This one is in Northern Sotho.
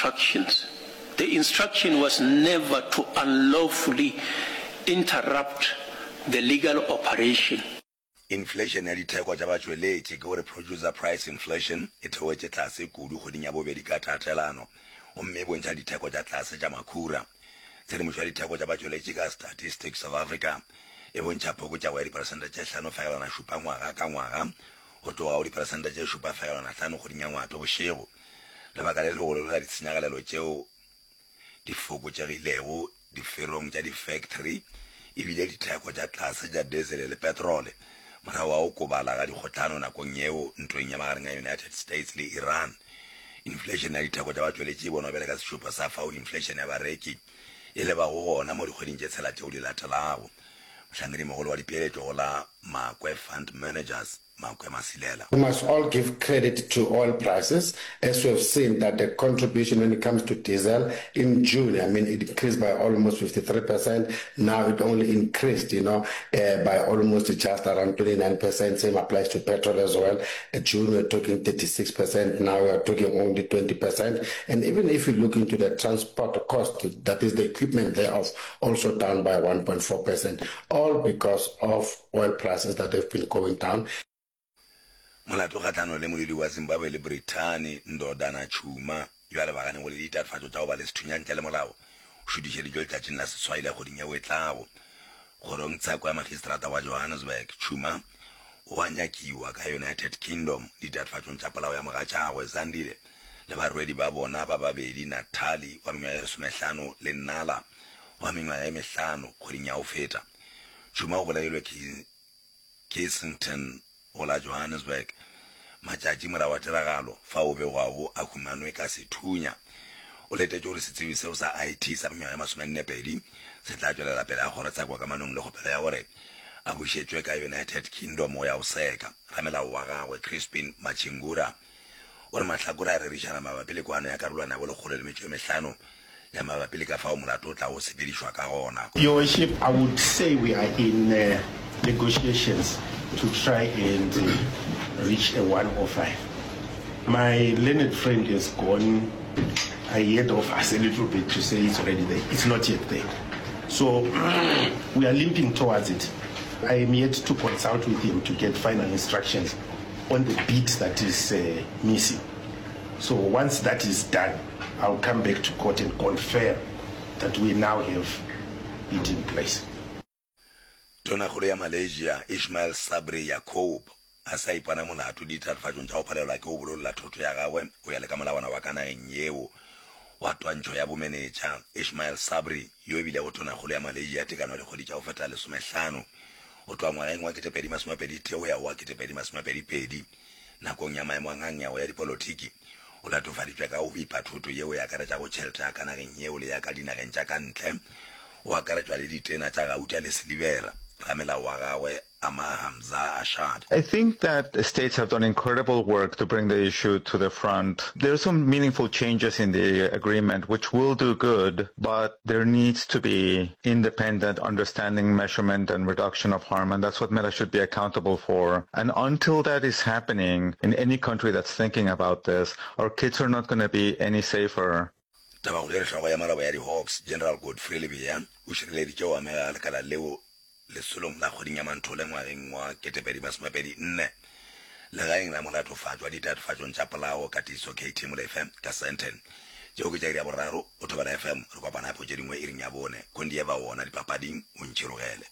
instructions. The instruction was never to unlawfully interrupt the legal operation. Inflation ya ditheko tša batšweletši, ke gore producer price inflation, e theogetše tlase kudu kgweding ya bobedi ka tatelano gomme e bontšha ditheko tša tlase tša makhura. Tshedimošo ya ditheko tša batšweletši ka Statistics South Africa e bontšha phokotšego ya diperesente tše 5.7 ngwaga ka ngwaga go tloga go diperesente tše 7.5 kgweding ya Ngwatobošego. Lebaka le legolo la ditshenyagalelo tšeo di fokotšegilego diferong tša difektri e bile ditheko tša tlase tša diesele le petrole morago ga go kobala ga dikgohlano nakong yeo ntweng ya magareng a United States le Iran. Inflation ya ditheko tša batšweletši e bonwa bjale ka sešupo sa fao inflation ya bareki e lebago gona mo dikgweding tše tshela tšeo di latelago. Mohlankedimogolo wa dipeeletšo go la Makwe Fund Managers, Makwe Masilela. We must all give credit to oil prices as we have seen that the contribution when it comes to diesel in June, I mean it increased by almost 53%, now it only increased, you know, uh, by almost just around 29%, same applies to petrol as well. In June we're talking 36%, now we are talking only 20%. And even if you look into the transport cost, that is the equipment thereof, also down by 1.4%, all because of oil prices that have been going down. Molato kgahlanong le molwedi wa Zimbabwe le Brithani, Ndodana Tshuma, yo a lebaganego le ditatofatšo tša go ba le sethunya ntle le molao, o šutišeditšwe letšatšing la seswai la kgweding yeo e tlago. Kgorongtsheko ya Magistrata wa Johannesburg, Tshuma o a nyakiwa ka United Kingdom ditatofatšong tša polao ya mogatšagwe, Zandile, le barwedi ba bona ba babedi, Natalie wa mengwaga ye lesomehlano le Nala wa mengwaga ye mehlano, kgweding ya go feta. Tšhuma o bolailwe Kensington go la Johannesburg matšatši morago ga tiragalo fao o begwago a humanwe ka sethunya. O letetše gore setsebi seo sa IT sa mengwaga ye masomennepedi se tla tšwelela pele ga kgorotsheko kamanong le kgopelo ya gore a bušetšwe ka United Kingdom go ya go seka. Ramelao wa gagwe, Crispin Machingura, O re mahlakore a rerišana mabapi le kwano ya karolwana ya bolekgolo le metšo e mehlano ya mabapi le ka fao molato o tlago sepedišwa ka gona. Your Worship, I would say we are in negotiations to try and reach a 105. My learned friend has gone ahead of us a little bit to say it's already there. It's not yet there. So we are limping towards it. I am yet to consult with him to get final instructions on the bit that is uh, missing. So once that is done, I'll come back to court and confirm that we now have it in place. Tonakgolo ya Malaysia Ismail Sabri Yaakob a sa ipona molato ditatofatšong tša go palelwa ke go bololla thoto ya gagwe go ya le ka molawana wa ka nageng yeo wa twantšho ya bomenetša. Ismail Sabri yo e bilego tonakgolo ya Malaysia tekano ya dikgwedi tša go feta lesomehlano Go tloga ngwageng wa 2021 go ya go wa 2022, nakong ya maemo a ngangego ya dipolotiki, o latofaditšwe ka go bipa thoto yeo e akaretšago tšhelete ya ka nageng yeo le ya ka dinageng tša ka ntle, go akaretšwa le ditena tša gauta le silibera. Ramelao wa gagwe, Amar Hamzah Ashad. I think that states have done incredible work to bring the issue to the front. There are some meaningful changes in the agreement which will do good, but there needs to be independent understanding, measurement, and reduction of harm, and that's what Meta should be accountable for. And until that is happening in any country that's thinking about this, our kids are not going to be any safer. Tabakgolo e re hlogo ya maloba ya di-Hawks, General Godfrey Lebeya, o šireleditše go amega ga lekala leo lesolong la kgweding ya Manthole ngwageng wa 2024 legaeng la molatofatšwa ditatofatšong tša polao Katiso KT Molefe ka Sandton. Tšeo ke tša iri ya boraro go Thobela FM. Re kopana gape go tše dingwe iring ya bone. Kondieva wona dipapading o ntšhirogele.